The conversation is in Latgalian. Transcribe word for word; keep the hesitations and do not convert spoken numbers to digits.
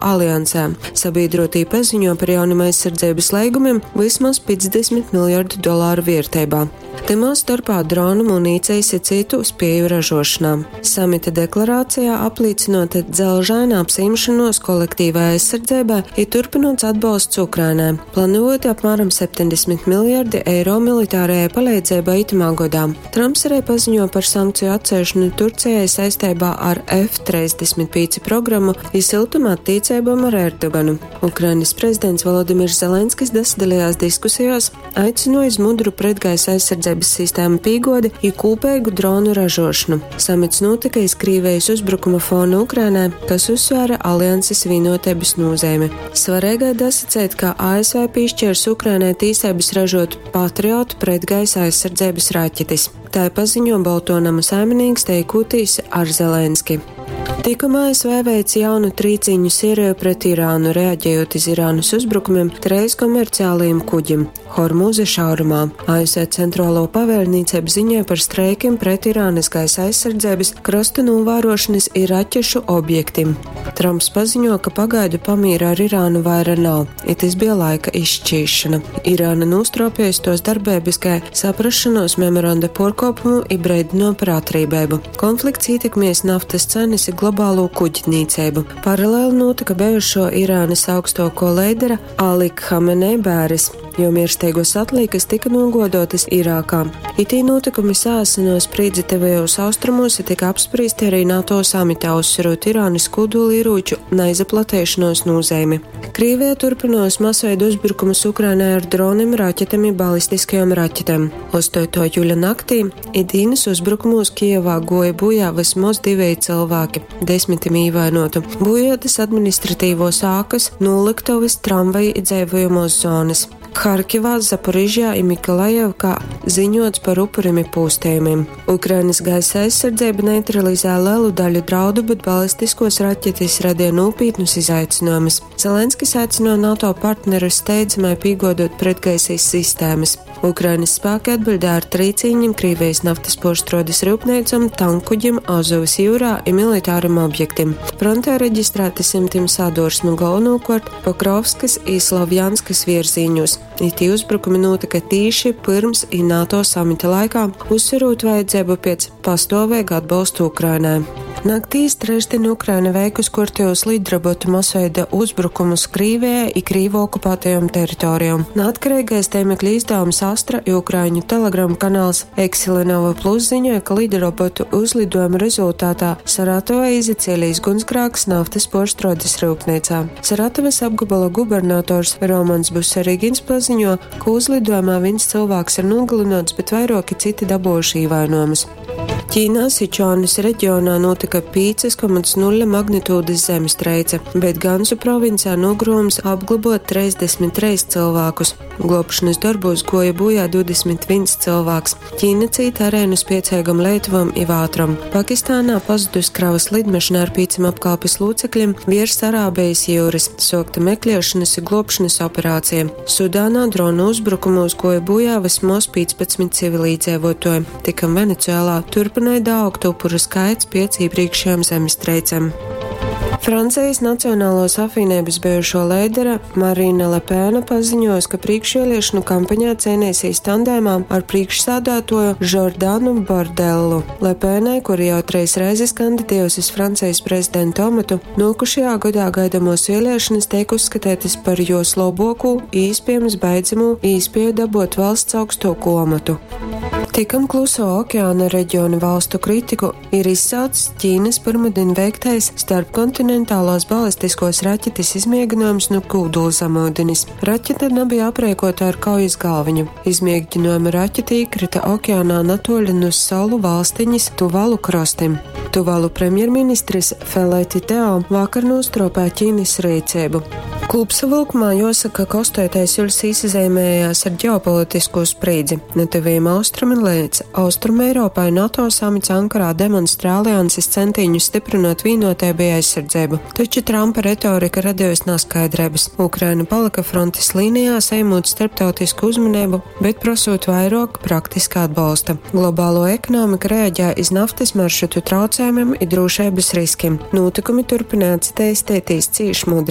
Aliansē. Sabīdruotī paziņo par jaunim aizsardzeibys leigumim vysmoz piecdesmit miljardu dolāru vierteibā. Tymā storpā dronu, munīcejis i cytu spieju ražuošonā. Samita deklarācijā aplīcynuota dzelžaina apsajimšonuos kolektīvai aizsardzeibai i turpynuots atbolsts Ukrainai. Planavuoti apmāram septeņdesmit miljardi eiro militārajai paleidzeibai itymā godā. Tramps ari paziņuo par sankceju atceļšonu Turcejai saisteibā ar F treisdesmit pīci programu i syltuma attīceibom ar Erdoganu. Ukrainys prezidents Volodimirs Zelenskis dasadalejās diskusejuos, aicynuoja iz mudru pretgaisa aizsardzeibys sistēmu pīguodi i kūpeigu dronu ražuošonu. Samits nūtyka iz Krīvejis uzbrukuma fona Ukrainai, kas uzsvēra alianses vīnuoteibys nūzeimi. Svareigai dasaceit, ka A S V pīšķiers Ukrainai tīseibys ražuot Patriot pretgaisa aizsardzeibys raķetis. Tai paziņo Boltuo noma saiminīks teikūtīs ar Zelenski. Tikom A S V veic jaunu trīcīņu sēriju pret Irānu, reaģējot iz Irānas uzbrukumiem treis komerciālajiem kuģim Hormuza šaurumā. A S V Centrālo pavēlniecību ziņoja par streikiem pret Irānas gaisa aizsardzības, krasta novērošanas i raķešu objektim. Trumps paziņo, ka pagaidu pamīra ar Irānu vaira nav, i tas bija laika izšķīšana. Irāna nostropējas tos darbības, kā saprašanos memoranda porkopumu i breidino par atrībēbu. Konflikts ietekmies naftas cenas i globālo kuģnīcību. Paralēli notika bijušo Irānas augstoko leidera Ali Khamenei bēres, jo mirsteigos atlīkas tika nogodotas Irākā. Itī notikumi sāsino sprīdzi tuvajos austrumos i tika apspriesti arī NATO samitā, uzsverot Irānas kodolieroču neizaplatēšanos nozīmi. Krīvija turpinos masveidu uzbrukumus Ukrainai ar droniem, raķetēm i balistiskajām raķetēm. Ostoto jūļa naktī i dīnas uzbrukumos Kijevā goja bojā vismaz divi cilvēki, desmitim īvainotu. Bojotas administratīvos ākas, noliktovas, tramvaji i dzīvojamos zonas. Harkivā, Zaporižjā i Mikolajevkā ziņots par upuriem i pūstējumiem. Ukrainas gaisa aizsardzība neutralizē lielu daļu draudu, bet balistiskos raķetes radīja nopietnus izaicinājumus. Zelenskis aicināja NATO partnerus steidzamai piegodot pretgaisīs sistēmas. Ukrainas spēki atbildēja ar trīcīņiem Krievijas naftas porštrodes rūpnīcam, tankuģim, Azovas jūrā i militāram objektim. Frontē reģistrēti simtiem sadursmu galvenokārt Pokrovskas i Slavjanskas virzīņos. Itī uzbrukumi notika tīši pirms i NATO samita laikā, uzsverot vajadzību pēc pastāvīga atbalsta Ukrainai. Naktīs trešdien Ukraina veikus kortējos lidrobotu masveida uzbrukumus Krīvijai i Krīvu okupētajām teritorijām. Neatkarīgais tēmekļa izdevums Astra i Ukraiņu Telegram kanāls Eksilenova Plus ziņoja, ka lidrobotu uzlidojuma rezultātā Saratovā izacēlījis gunsgrāks naftas porštrodes rūpnīcā. Saratovas apgabala gubernators Romans Busarigins paziņo, ka uzlidojumā viens cilvēks ir nogalināts, bet vairāki citi dabūjuši ievainojumus. Ķīnā Sičuanas reģionā notika piecas komats nulle magnitūdas zemestreice, bet Gansu provincē nogrūms apglabot trīsdesmit trīs cilvēkus. Glābšanas darbos goja bojā divdesmit viens cilvēks. Ķīna cīta arēnu spiecīgam Lietuvam i Vātram. Pakistānā pazudus kravas lidmašīna ar pieciem apkalpes locekļiem virs Arābijas jūras. Sokta meklēšanas i glābšanas operācija. Sudānā dronu uzbrukumos goja bojā vismaz piecpadsmit civilīdzīvotāji. Tikam Venecuēlā turpināja augt upuru skaits piec iepriekšējām zemestreicēm. Francijas Nacionālos apvienības bijušo leidera Marina Lepēna paziņoja, ka priekšvēlēšanu kampaņā cīnīsies tandēmā ar priekšsādātoju Žordanu Bardellu. Lepēnai, kura jau treis reizes kandidējusi uz Francijas prezidenta amatu, nokušajā gadā gaidamos vēlēšanas tiek uzskatītas par jos labāko, iespējams beidzamo īspēju dabūt valsts augstāko amatu. Tikam Kluso okeāna reģiona valstu kritiku ir izsaucis Ķīnas pirmdien veiktais starpkontinentālās balistiskos raķetes izmēģinājums no kūdula zemūdenes. Raķete nebija aprēkota ar kaujas galviņu. Izmēģinājuma raķete iekrita okeānā natoļi no salu valstiņas Tuvalu krastiem. Tuvalu premjerministrs Feleti Teo vakar nostropēja Ķīnas rīcību. Kūpsavylkumā juosaka, ka ostoitais juļs īsazeimējās ar ģeopolitiskū sprīdzi. Nu Tyvajim Austrumim leidz Austrumeiropai NATO samits Ankarā demonstrē alianses centīņus stiprinot vīnoteibu i aizsardzeibu. Taču Trumpa retorika radejusi naskaidreibys. Ukraina palyka frontes līnijā, saņemot starptautisku uzmaneibu, bet prosot vairuok praktiska atbolsta. Globāluo ekonomika reaģē iz naftys maršrutu traucējumim i drūšeibys riskim. Nūtykumi turpynoj atsateistētīs cīš mudrai.